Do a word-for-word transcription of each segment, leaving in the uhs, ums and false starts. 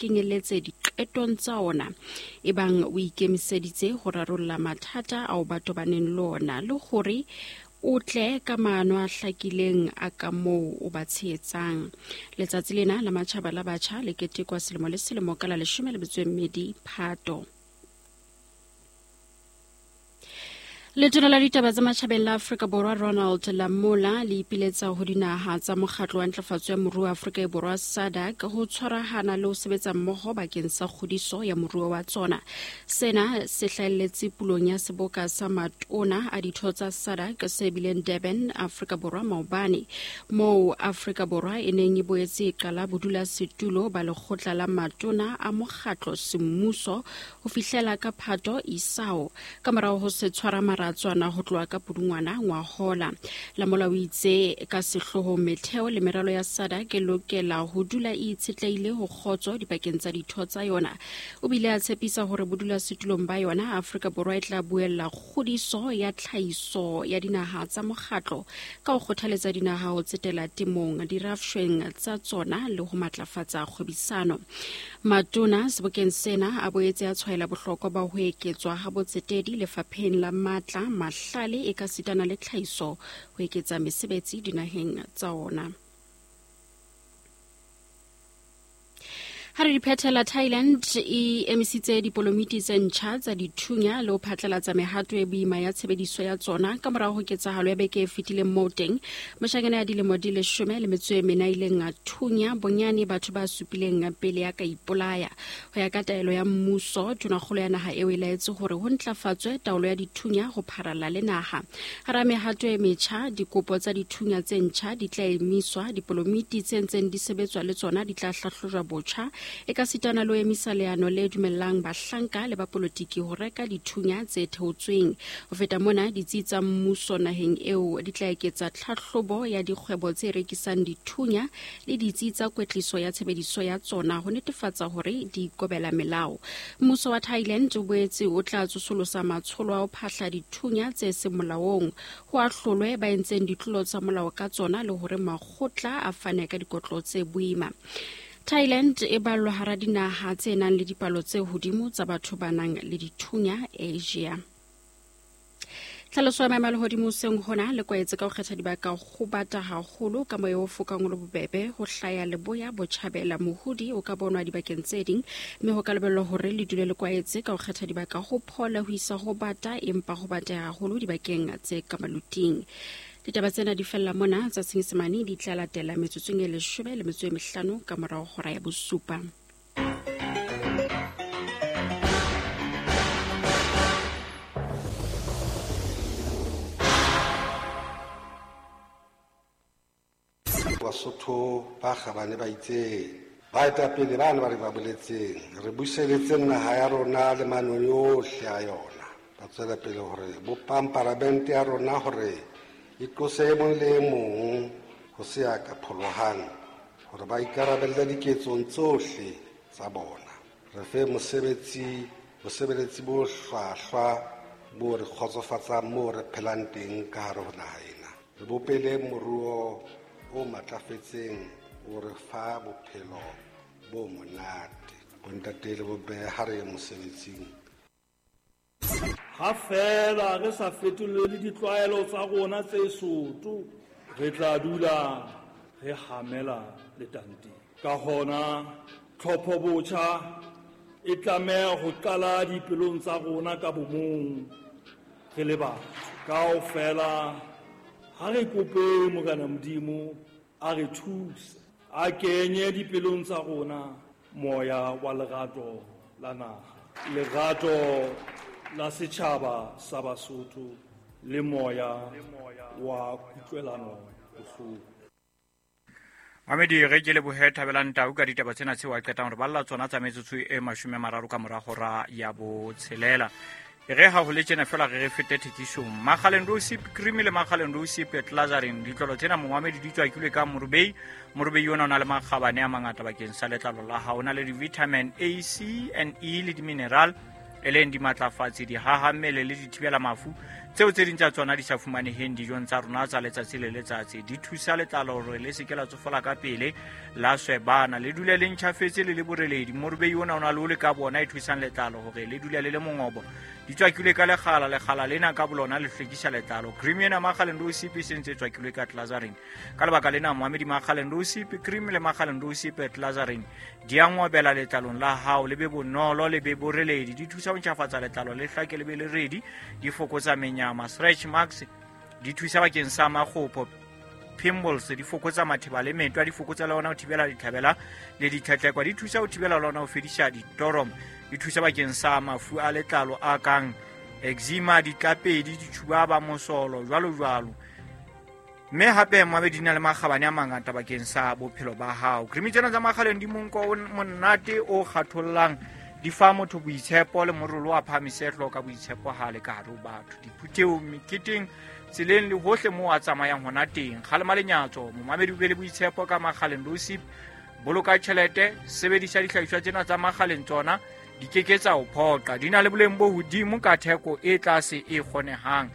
Kenyelletse diqetong tsa ona ebang o ikemiseditse ho rarolla mathata ao ba tobaneng le ona le hore o tle ka maano a hlakileng a ka moo o ba tshehetsang. Letsatsi lena la matjhaba la batjha le ketekwa selemo le selemo ka la leshome le metso e mmedi Phato. Letona la ditaba tsa matjhabeng la Afrika Borwa Ronald Lamola le ipiletsa ho dinaha tsa mokgatlo wa ntlafatso ya moruo wa Afrika Borwa SADC ho tshwarahana le ho sebetsa mmoho bakeng sa kgodiso ya moruo wa tsona. Sena se hlahelletse pulong ya seboka sa matona a ditho tsa SADC se bileng Durban, Afrika Borwa maobane, moo Afrika Borwa e neng e boetse e qala bodulasetulo ba lekgotla la matona a mokgatlo semmuso ho fihlela ka Phato isao ka morao ho se tshwara maratswana ho tloha ka Pudungwana ngwahola. Lamola o itse ka sehloohong metheo le meralo ya SADC e lokela ho dula e itshetlehile ho kgotso dipakeng tsa ditho tsa yona. O bile a tshepisa hore bodulasetulong ba yona Afrika Borwa e tla buella kgodiso ya tlhahiso ya dinaha tsa mokgatlo ka ho kgothaletsa dinaha ho tsetela temong, dirafshweng tsa tsona le ho matlafatsa kgwebisano. Matona sebokeng sena a boetse a tshwaela bohlokwa ba ho eketswa ha botsetedi lefapheng la matla, mahlale e ka sitana le tlhahiso ho eketsa mesebetsi dinaheng tsa ona. Ha re di phethela, Thailand e emisitse dipolomiti tse ntjha tsa dithunya le ho phatlalatsa mehato e boima ya tshebediso ya tsona ka morao ho ketsahalo ya beke e fetileng moo teng moshanyana ya dilemo di leshome le metso e mene a ileng a thunya bonyane batho ba supileng pele ya ka ipolaya. Ho ya ka taelo ya mmuso, tonakgolo ya naha eo e laetse hore ho ntlafatswe taolo ya dithunya ho pharalla le naha. Hara mehato e metjha, dikopo tsa dithunya tse ntjha di tla emiswa, dipolomiti tse ntseng di sebetswa le tsona di tla hlahlojwa botjha, e ka sitana le ho emisa leano le dumellang bahlanka le bapolotiki ho reka dithunya tse theotsweng. Ho feta mona, ditsi tsa mmuso naheng eo di tla eketsa tlhahlobo ya dikgwebo tse rekisang dithunya le ditsi tsa kwetliso ya tshebediso ya tsona ho netefatsa hore di ikobela melao. Mmuso wa Thailand o boetse o tla tsosolosa matsholo a ho phahla dithunya tse seng molaong, ho ahlolwe ba entseng ditlolo tsa molao ka tsona le hore makgotla a fane ka dikotlo tse boima. Thailand e ballwa hara dinaha tse nang le dipalo tse hodimo tsa batho ba nang le dithunya Asia. Tlhaloso ya maemo a lehodimo hoseng hona le kwaetse ka ho kgetha dibaka ho bata haholo ka moya o fokang o le bobebe ho hlaya leboya botjhabela mohodi o ka bonwa dibakeng tse ding, mme ho ka lebellwa hore le dule le kwaetse ka ho kgetha dibaka ho phola ho isa ho bata empa ho bata haholo dibakeng tse ka maluting. Ditaba tsena di fella mona tsa Senyesemane di tla latela metsotsong e leshome le metso e mehlano ka morao hora ya bosupa. Basotho ba kgabane ba itseng baetapele ba ne ba re ba boletseng re buseletseng naha ya rona le manong yohle a yona. Ba tswela pele hore bopang paramente ya rona hore e tlose e mong le e mong ho se ya ka pholohang hore ba ikarabelle diketsong tsohle tsa bona. Re fe mosebetsi bosebeletsi bo hlwahlwa bo re kgotsofatsang moo re phelang teng ka hare ho naha ena. Re bopele moruo o matlafetseng o re fa bophelo bo monate. Bontate le bomme ha re ye mosebetsing. Ha feela re sa fetolele ditlwaelo tsa rona tse soto, re tla dula re hamela letanteng. Ka hona tlhopho botjha e tlameha ho qala dipelong tsa rona ka bomong re le batho. Kaofela ha re kope Morena Modimo a re thuse, a kenye dipelong tsa rona moya wa lerato la naha, lerato la setjhaba sa Basotho le moya wa kutlwelano bohloko. Mamedi re ke lebohe Thabelang Tau ka ditaba tsena tseo a qetang re balla tsona tsa metsotso e mashome a mararo ka mora hora ya botshelela. Re ha ho le tjena fela re re fete thekisong. Makgaleng Rosip cream le Makgaleng Rosip Glazarin ditlolo tsena momamedi di tswakilwe ka morubei. Morubei ona o na le makgabane a mangata bakeng sa letlalo la hao, o na le di-vitamin A, C and E le di-mineral. e leng dimatlafatsi, dihahammele le dithibela mafu tseo tse ding tsa tsona di sa fumaneheng dijong tsa rona tsa letsatsi le letsatsi. Di thusa letlalo hore le se ke la tsofala ka pele, la swebana, le dule le ntjhafetse le le boreledi. Morubei ona o na le ole ka bona e thusang letlalo hore le dule le le mongobo. Di tswakilwe ka lekgala, lekgala lena ka bolona le hlwekisa letlalo. Cream ena Makgaleng Rosip e sentse e tswakilwe ka glycerin. Ka lebaka lena moamedi Makgaleng Rosip cream le Makgaleng Rosip glycerin di a ngobela letlalong la hao, le be bonolo, le be boreledi. Di thusa ho ntjhafatsa letlalo, le hlake le be le redi, di fokotsa menyama, stretch marks, di thusa bakeng sa makgopo, pimples, di fokotsa matheba le metwa, di fokotsa le ona ho thibela ditlhabela le ditlhatlekwa, di thusa ho thibela le ona ho fedisa ditorom, di thusa bakeng sa mafu a letlalo a kang eczema, ditlapedi, ditjhubaba, mosolo, jwalo jwalo. Mme hape moamedi di na le makgabane a mangata bakeng sa bophelo ba hao. Cream tsena tsa Makgaleng di monko o monate o kgathollang, di fa motho boitshepo le morolo wa phahamise hlooho ka boitshepo ha le ka hare ho batho, diphuthehong, meketeng, tseleng le hohle moo a tsamayang hona teng. Kgalema lenyatso, momamedi o be le boitshepo ka Makgaleng Rosip. Boloka tjhelete, sebedisa dihlahiswa tsena tsa Makgaleng, tsona di ke ke tsa o phoqa. Di na le boleng bo hodimo ka theko e tlase e kgonehang.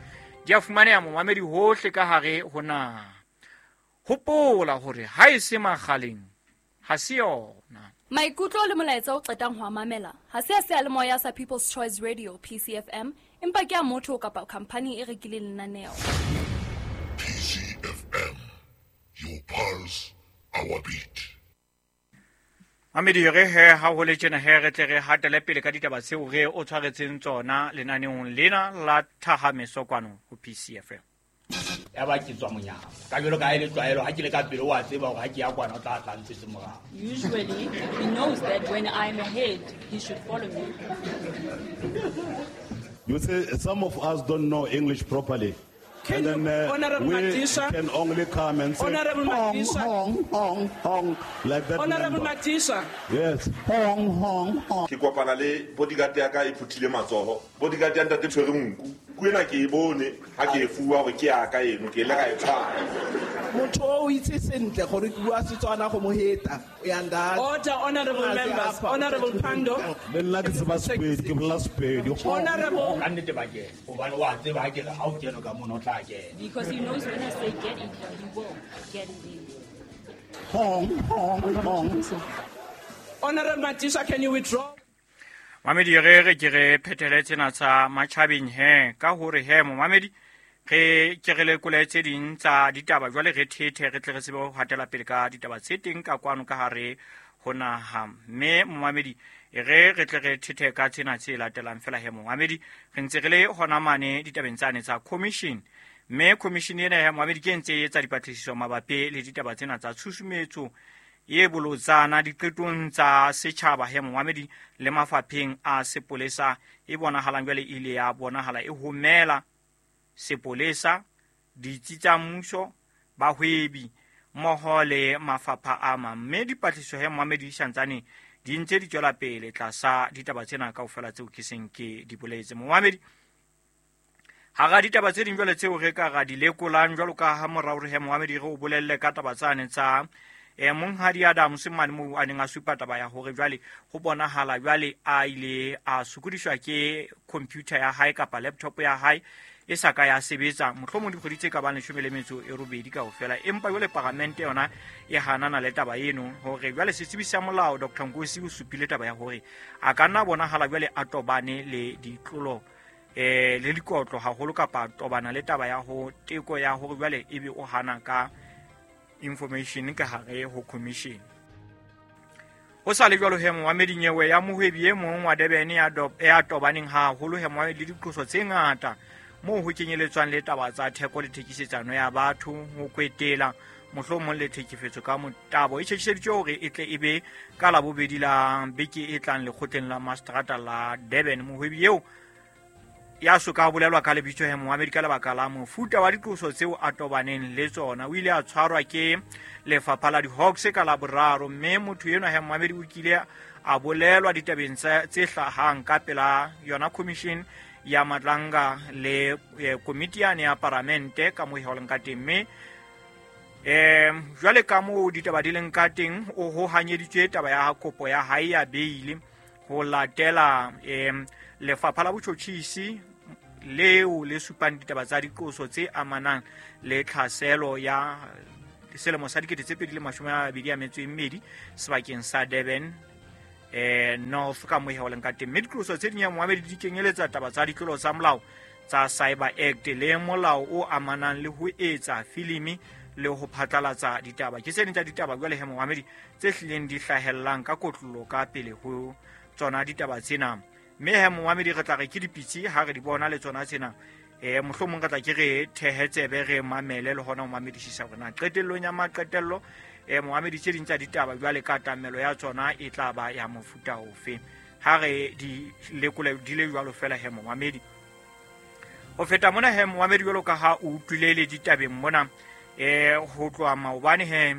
Di a fumaneha momamedi hohle ka hare ho naha. Hopola hore ha e se Makgaleng ha se yona. Maikutlo le molaetsa o qetang ho a mamela ha se a seyalemoya sa People's Choice Radio P C F M, empa ke a motho kapa khampani e rekileng lenaneo. P C F M, your pulse, our beat. Mamedi re he ha ho le tjena he re tle re hatele pele ka ditaba tseo re o tshwaretseng tsona lenaneong lena la Thahameso kwano ho P C F M. Ya ba ke tswa monyako ka jwalo ka e le tlwaelo ha ke le ka pele wa tseba hore ha ke ya kwana o tla tla ntsetse morao. Usually he knows that when I'm ahead he should follow me. You say some of us don't know English properly. Can and then uh, Honorable we Matisha, can only come and say Honorable hong, Matisha, hong, hong, hong, like that. Honorable Matisha. Yes. Hong, hong, hong. Ke kopana le bodyguard ya ka e phuthile matsoho. Bodyguard ya ntate tshwere nku. Ku ena ke e bone ha ke e fuwa hore ke ya ka eno, ke ile ka e tshwara. Motho o itse sentle gore ke bua Setswana go mo heta. O ya nda. Order, honorable members. Honorable Pando. Le nna ke tseba Sepedi, ke bolela Sepedi. Honorable. Ka nnete ba kena. Hobane wa tseba ha ke re ha o kene ka mono o tla kena. Because he knows when I say get in, he will get in. Hong, hong, hong. Honorable Matisha, can you withdraw? Mamedi re re ke re phethele tsena tsa matjhabeng he ka hore he momamedi re ke re lekole tse ding tsa ditaba jwale re thethe re tle re tsebe ho hatela pele ka ditaba tse teng ka kwano ka hare ho naha. Mme momamedi re re tle re thethe ka tsena tse latelang fela he momamedi re ntse re le hona mane ditabeng tsane tsa commission. Mme commission ena ya momamedi ke ntse e etsa dipatlisiso mabapi le ditaba tsena tsa tshusumetso e bolotsana diqetong tsa setjhaba he momamedi le mafapheng a sepolesa e bonahalang jwale ile ya bonahala e homela sepolesa, ditsi tsa mmuso, bahwebi mmoho le mafapha a mang. Mme dipatlisiso he momamedi di santsane di ntse di tswela pele tlasa ditaba tsena kaofela tseo ke seng ke di boletse. Momamedi hara ditaba tse ding jwale tseo re ka ra di lekolang jwalo ka ha morao re he momamedi re o bolelle ka taba tsane tsa e monghadi Adams mane moo a neng a supa taba ya hore jwale ho bonahala jwale a ile a sokodiswa ke computer ya hae kapa laptop ya hae e sa ka ya sebetsa mohlomong dikgwedi tse ka bang leshome le metso e robedi kaofela. Empa jwale paramente yona e hanana le taba eno hore jwale setsebi sa molao Doctor Nkosi o supile taba ya hore a ka nna bonahala jwale a tobane le ditlolo eh le dikotlo haholo kapa tobana le taba ya ho teko ya hore jwale ebe o hana ka information ka hare ho commission. Ho sa le jwalo he moamedi nyewe ya mohwebi e mong wa Durban ya ya tobaneng haholo he moamedi le diqoso tse ngata moo ho kenyeletswang le taba tsa theko le thekisetsano ya batho, ho kwetela mohlomong le thekifetso ka motabo. E tjhetjhiseditswe hore e tle e be ka labobedi la beke e tlang lekgotleng la Mastrata la Durban. Mohwebi eo ya soka bolelwa ka lebitso he moamedi ka lebaka la mofuta wa diqoso tseo a tobaneng le tsona, o ile a tshwarwa ke lefapha la di-Hawks ka Laboraro. Mme motho enwa he moamedi o kile a bolelwa ditabeng tse hlahang ka pela yona commission ya Madlanga le komiti yane ya paramente ka moo e holeng ka teng. Mme um jwale ka moo ditaba di leng ka teng, o ho hanyeditswe taba ya kopo ya hae ya beile ho latela um Lefapha la Botjhotjhisi leo le supang ditaba tsa diqoso tse amanang le tlhaselo ya selemo sa dikete tse pedi le mashome a mabedi a metso e mmedi sebakeng sa Durban eh North ka mohe ho leng ka teng. Mme diqoso tse ding ya moamedi di kenyeletsa taba tsa ditlolo tsa molao tsa Cyber Act le molao o amanang le ho etsa filimi le ho phatlalatsa ditaba. Ke tse ding tsa ditaba jwale he moamedi tse hlileng di hlahellang ka kotlolo ka pele ho tsona ditaba tsena. Mme he moamedi re tla re ke dipitsi ha re di bona le tsona tsena, eh mohlomong re tla ke re thehetsebe re mamele le hona ho mamedisisa hore na qetellong ya maqetello eh moamedi tse ding tsa ditaba jwale ka tamelo ya tsona e tla ba ya mofuta ofe. Ha re di lekole di le jwalo fela he moamedi. Ho feta mona he moamedi jwalo ka ha o utlwile le ditabeng mona eh ho tloha maobane he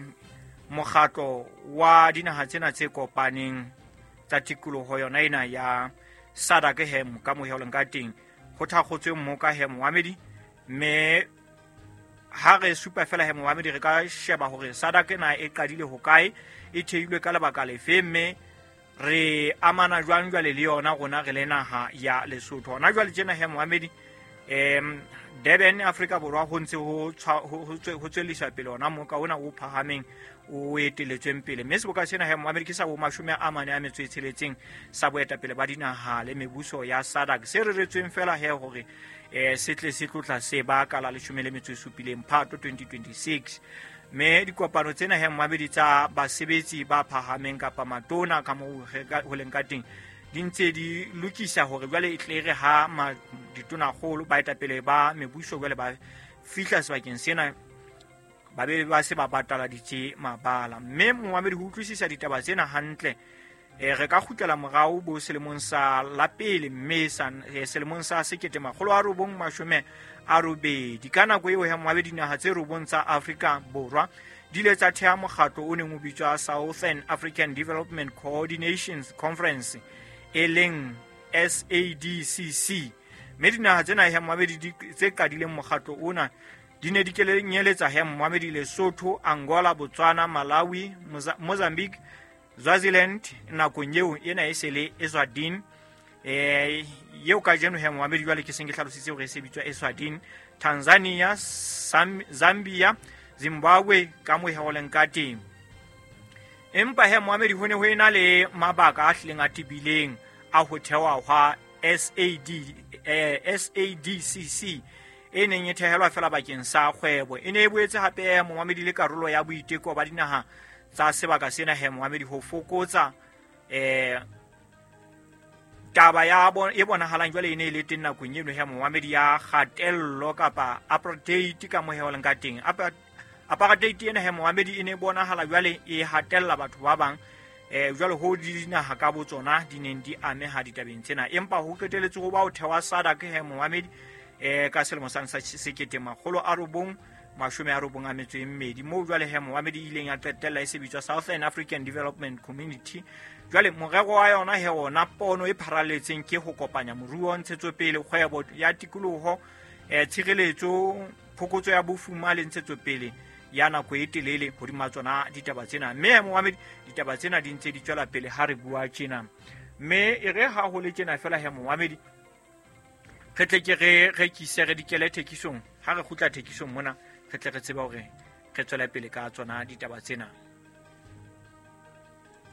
mokgatlo wa dinaha tsena tse kopaneng tsa tikoloho yona ena ya SADC he ka mohe ka teng ho thakgotswe mmoka he moamedi. Mme ha re supa fela he moamedi re ka sheba hore SADC na e qadile hokae, e theilwe ka lebaka lefe, mme re amana jwang jwale le yona rona re le naha ya Lesotho. Hona jwale tjena he moamedi em Durban Afrika Borwa ho ntse ho ho tswellisa pele ona moka ona o phahameng o eteletsweng pele. Mme seboka sena he moamedi ke sa bo mashome a mane a metso e tsheletseng sa boetapele ba dinaha le mebuso ya SADC se reretsweng fela he hore eh se tle se tlotla se baka la leshome le metso e supileng Phato twenty twenty-six. Mme dikopano tsena he moamedi tsa basebetsi ba phahameng kapa matona ka moo ho leng ka teng di ntse di lokisa hore jwale e tle re ha ditonakgolo baetapele ba mebuso jwale ba fihla sebakeng sena ba be ba se ba bataladitse mabala. Mme moamedi ho utlwisisa ditaba tsena hantle eh re ka kgutlela morao bo selemong sa la pele mme sa selemong sa sekete makgolo a robong mashome a robedi. Ka nako eo he moamedi dinaha tse robong tsa Afrika Borwa di ile tsa theha mokgatlo o neng o bitswa Southern African Development Coordination Conference e leng S A D C C. Mme dinaha tsena he moamedi tse qadileng mokgatlo ona di ne di kenyeletsa he moamedi Lesotho, Angola, Botswana, Malawi, Mozambique, Swaziland nakong eo ena e se le Eswatini eh eo kajeno he moamedi jwale ke seng ke hlalositse hore e se bitswa Eswatini, Tanzania, Zambia, Zimbabwe ka mo he ho leng ka teng. Empa he moamedi ho ne ho ena le mabaka a hlileng a tebileng a ho thewa hwa S A D eh, S A D C C e neng e thehelwa fela bakeng sa kgwebo. E ne e boetse hape moamedi le karolo ya boiteko ba dinaha tsa sebaka sena he moamedi ho fokotsa eh taba ya e bonahalang jwale e ne e le teng nakong eno he moamedi ya kgatello kapa apartheid ka mohe ho leng ka teng. Apartheid ena he moamedi e ne bonahala jwale e hatella batho ba bang eh jwale ho dinaha ka botsona di neng di ameha ditabeng tsena. Empa ho qeteletse ho ba ho thewa SADC he moamedi eh ka selemo sa sekete makgolo a robong mashome a robong a metso e mmedi moo jwale he moamedi ileng ya qetella e se bitswa Southern African Development Community. Jwale morero wa yona he ona pono e pharaletseng ke ho kopanya moruo, ntshetsopele, kgwebo ya tikoloho, eh tshireletso, phokotso ya bofuma le ntshetsopele ya nako e telele hodima tsona ditaba tsena. Mme moamedi ditaba tsena di ntse di tswela pele ha re bua tjena. Mme e re ha ho le tjena fela he moamedi re tle ke re rekise re dikele thekisong. Ha re kgutla thekisong mona re tle re tsebe hore re tswela pele ka tsona ditaba tsena.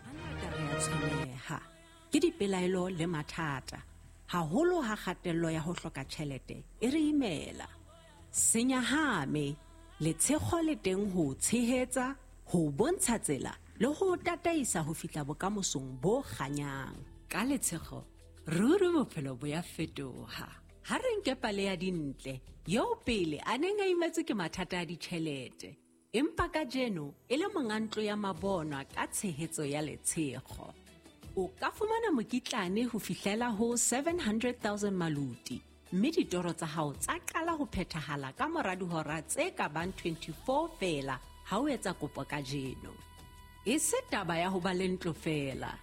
Hangata re a tshwenyeha ke dipelaelo le mathata, haholo ha kgatello ya ho hloka tjhelete e re imela. Senyahame letshego le teng ho tshehetsa, ho bontsha tsela le ho tataisa ho fihla bokamosong bo kganyang. Ka letshego ruri bophelo bo ya fetoha. Ha re nke pale ya Dintle eo pele a neng a imetswe ke mathata a ditjhelete, empa kajeno e le monga ntlo ya mabonwa ka tshehetso ya letshego. O ka fumana mokitlane ho fihlela ho seven hundred thousand maluti, mme ditoro tsa hao tsa qala ho phethahala ka mora dihora tse ka bang twenty-four feela ha o etsa kopo kajeno. E se taba ya ho ba le ntlo feela,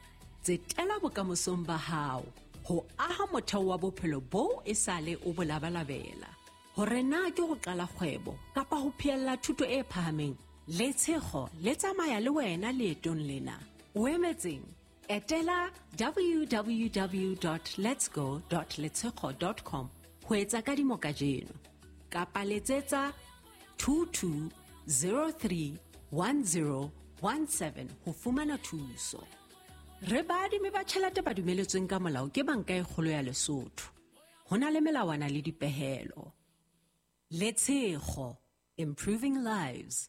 tsetela bokamosong ba hao ho aha motheo wa bophelo boo e sale o bo labalabela. Hore na ke ho qala kgwebo kapa ho phehella thuto e phahameng, letshego le tsamaya le wena leetong lena. O emetseng? Etela w w w dot letsgo dot letshego dot com ho etsa kadimo kajeno. Kapa letsetsa two two zero three one zero one seven ho fumana thuso. Re baadimi ba tjhelete ba dumeletsweng ka molao ke Banka e Kgolo ya Lesotho. Ho na le melawana le dipehelo. Letshego, improving lives.